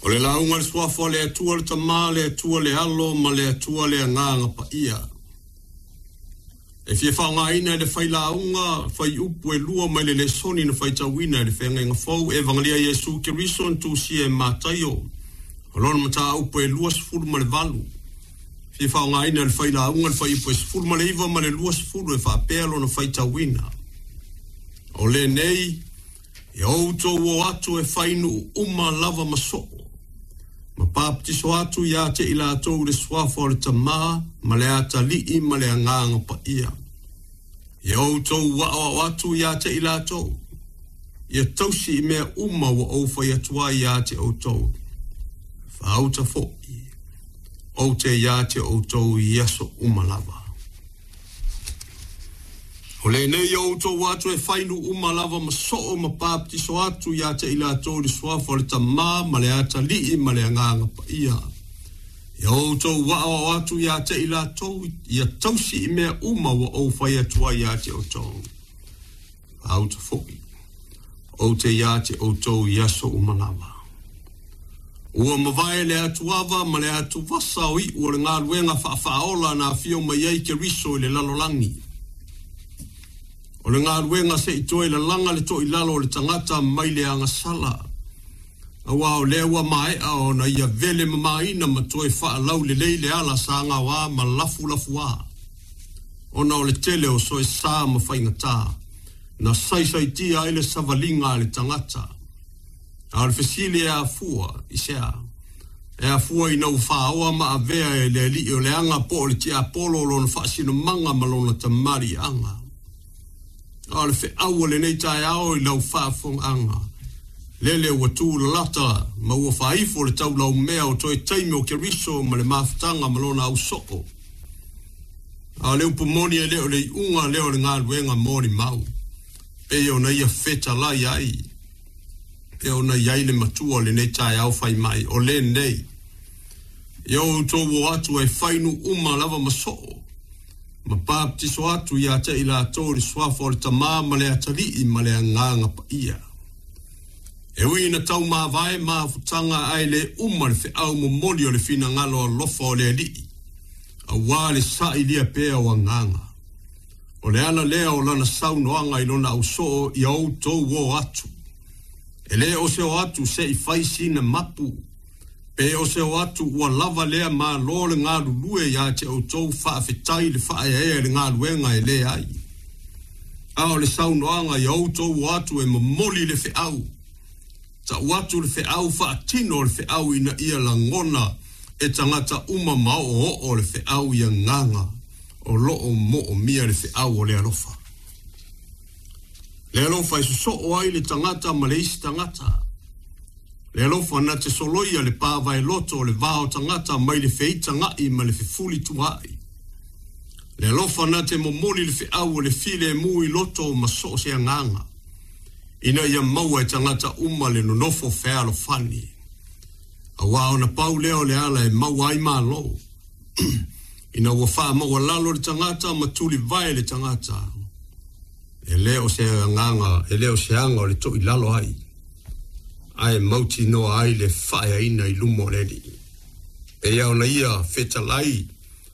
O le lauga i le Suafa o le Atua le Tama, le Atua le Alo ma le Atua le Agaga Paia. E fia faaaogaina e le failauga fuaiupu e 2 mai le lesoni na faitauina i le Feagaiga Fou, Evagelia Iesu Keriso na tusia e Mataio, o lona mataupu e 28. Fia faaaogaina e le failauga le fuaiupu e 19 ma le 20 e faapea lona faitauina. O lenei, ia outou o atu e fai nuu uma lava ma soo, ma papatiso atu ia te i latou i le suafa o le Tama ma le Atalii ma le Agaga Paia. Ia outou aoao atu ia te i latou, ia tausi i mea uma ua ou fai atu ai ia te outou. Faauta foi, ou te ia te outou i aso uma lava. O lenei ia outou atu e fai nuu uma lava ma soo ma papatiso atu ia te i latou i le suafa o le Tama ma le Atalii ma le Agaga Paia. Ia outou aoao atu ia te i latou, ia tausi i mea uma ua ou fai atu ai ia te outou. Faauta foi, ou te ia te outou i aso uma lava. Ua mavae le atuava ma le atuvasa o iu o le galuega faafaaola na afio mai ai Keriso i le lalolagi. O le galuega se i toe lalaga le toilalo o le tagata mai le agasala, aua o lea ua maea ona ia vele mamaina ma toe faalaulelei le ala sa gaoā ma lafulafuā, ona o le tele o soesā ma faigata na saisaitia ai le savaliga a le tagata. A o le fesili e afua i se a? E afua ina ua faaoa ma avea e le alii o le aga po o le tiapolo lona faasinomaga ma lona tamaliiaga. A o le feau o lenei taeao i lau faafofogaaga, lele ua tulalata ma ua faaifo le taulaumea o toe taimi o Keriso ma le mafutaga ma lona ausoo. A o le upu moni e le o le iuga lea o le galuega molimau, pei ona ia fetalai ai, e ona i ai le matua o lenei taeao fai mai, o lenei, ia outou o atu e fai nuu uma lava ma soo, ma papatiso atu ia te i latou i le suafa o le Tama ma le Atalii ma le Agaga Paia. E ui ina taumavae mafutaga ae le uma le feau momoli o le finagalo alofa o le Alii, aua le sailia pea o agaga. O le ala lea o lana saunoaga i lona ausoo ia outou o atu. E le o se o atu se i fai sina mapu, pe o se o atu ua lava lea malo le galulue ia te outou faafetai le faaeaea i le galuega e le ai. A o le saunoaga ia outou o atu e momoli le feau, tau atu le feau faatino o le feau ina ia lagona e tagata uma ma oooo le feau i agaga o loo moomia le feau o le alofa. Le alofa e sosoo ai le tagata ma le isi tagata. Le alofa na te soloia le pavaeloto o le va o tagata mai le feitagai ma le fefulituaai. Le alofa na te momoli le feau o le filemu i loto ma soo se agaga, ina ia maua e tagata uma le nonofo fealofani. Aua ona pau lea o le ala e maua ai malo. Ina ua faamaualalo le tagata ma tulivae le tagata, e le o se agaga, e le o se aga o le toilalo ai, ae mautinoa ai le faaeaina i luma o le Alii. Pei ona ia fetalai